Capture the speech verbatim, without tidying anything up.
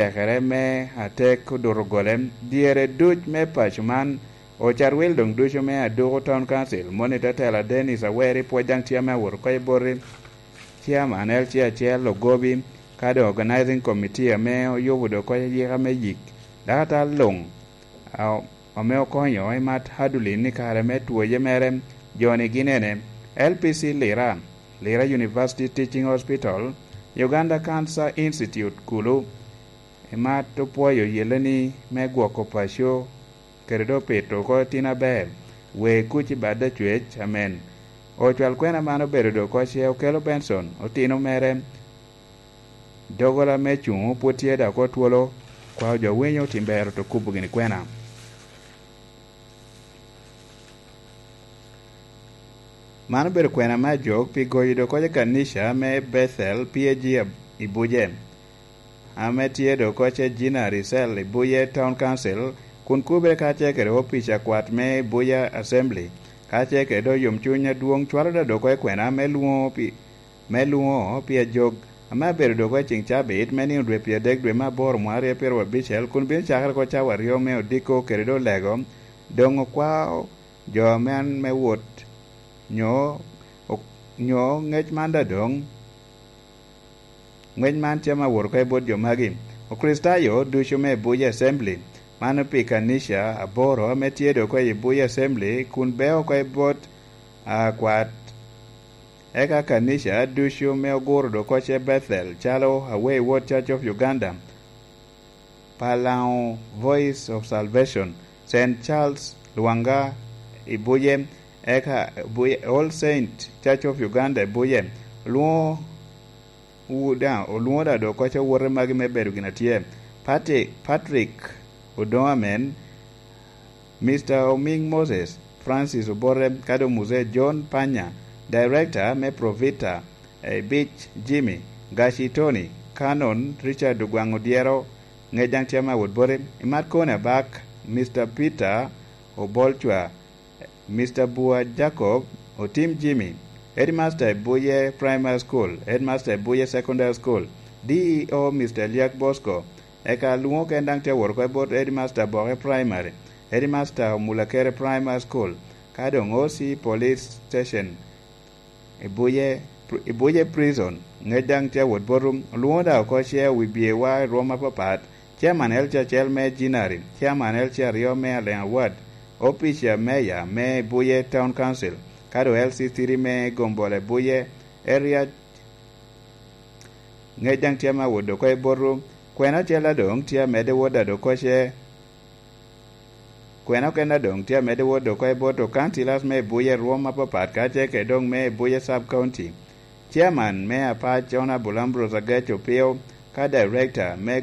tekere me atek oduto gole. Dyere duc me paco man, Ocat wil doŋ ducu me Aduku Town Council, moni tatela Dennis Aweri, pwod daŋ tye ame awoto oko i boti, Chairman L C acel Ogobi, ka doŋ Organizing Committee ame oyubo doŋ oko yika me yik, dakatar luŋ a-, ame okonyo i mat Hadulin i kare me twoye mere, joni gin ene: L P C Lira, Lira University Teaching Hospital, Uganda Cancer Institute kulu, i mat opwoyo yelle ni me gwoko paco kede doŋ pito oko tin aber, wee kuc i bad acwec amen. Ocwal kwena man obedo doŋ oko ce Okello Benson, otino mere, doggola me cuŋ pwod tye dok oko twolo, kwao jo winyo tim ber oto kubo gini kwena. Man obedo kwena me ajok pi goyo doŋ oko ce kanica me Bethel P A G ab-, i Buje, ame tye doŋ oko ce Gina Ricel i Buje Town Council, kun kubere kacel kede opic akwat me Buje Assembly, kacel kede doŋ yomcuny adwoŋ cwalo da doŋ oko i kwena me lwoŋo pi, me lwoŋo pi ajok, ame abedo doŋ oko i ceŋ cabit me nino dwe pyeradek dwe me aboro mwaka aryo pyeraryo abicel, kun bino cakere oko cawa aryo me odiko kede doŋ lego, doŋ okwao jo man me wot, nyo, ok-, nyo ŋec man da doŋ, ŋec man tye ame awot oko i bot jo magi. Okricitayo ducu me Buya Assembly, mano pi kanica aboro ame tye doŋ oko i Buya Assembly kun beo oko i bot akwat. Eka kanica ducu me oguro doŋ oko ce Bethel, calo Away Word Church of Uganda, Palaŋo Voice of Salvation, Saint Charles Lwanga i Buje, eka Buje, All Saint Church of Uganda i Buje, olwoŋo wu daŋ, olwoŋo daŋ doŋ oko ce owote magi me bedo gin atye. Pati-, Patrick Odoŋo amen, Mister Oming Moses, Francis Obote, ka doŋ Muzee John Panya, Director me Provita, Ebic Jimmy, Gaci Tony, Canon Richard Ogwaŋ Odyero, ŋec daŋ tye ame awot bote, i mat koni abak, Mister Peter Obolcwa, Mister Bua Jacob, Otim Jimmy, Headmaster i Buye Primary School, Headmaster i Buye Secondary School, D E O Mister Eliak Bosco, eka alwoŋo ken daŋ tye awot oko i bot Headmaster Boke Primary, Headmaster Omulakere Primary School, ka doŋ O C Police Station i Buye, i Buye Prison, ŋec daŋ tye awot botu, olwoŋo daŋ oko ce wi byewa i rwom apapat, Chairman L C acel me Jinari, Chairman L C aryo me Aleŋ Award, Opic a Meya me Buye Town Council, ka doŋ L C three me Gombole Buye Area, ŋec daŋ tye ame awot oko i botu, kwena acel a doŋ tye amedde wot a doŋ oko ce, kwena okene a doŋ tye amedde wot oko i bot councillors me Buye rwom apapat, ka ce kede doŋ me Buye Sub County. Chairman me Apac Honorable Ambrose Agec Opio, ka Director me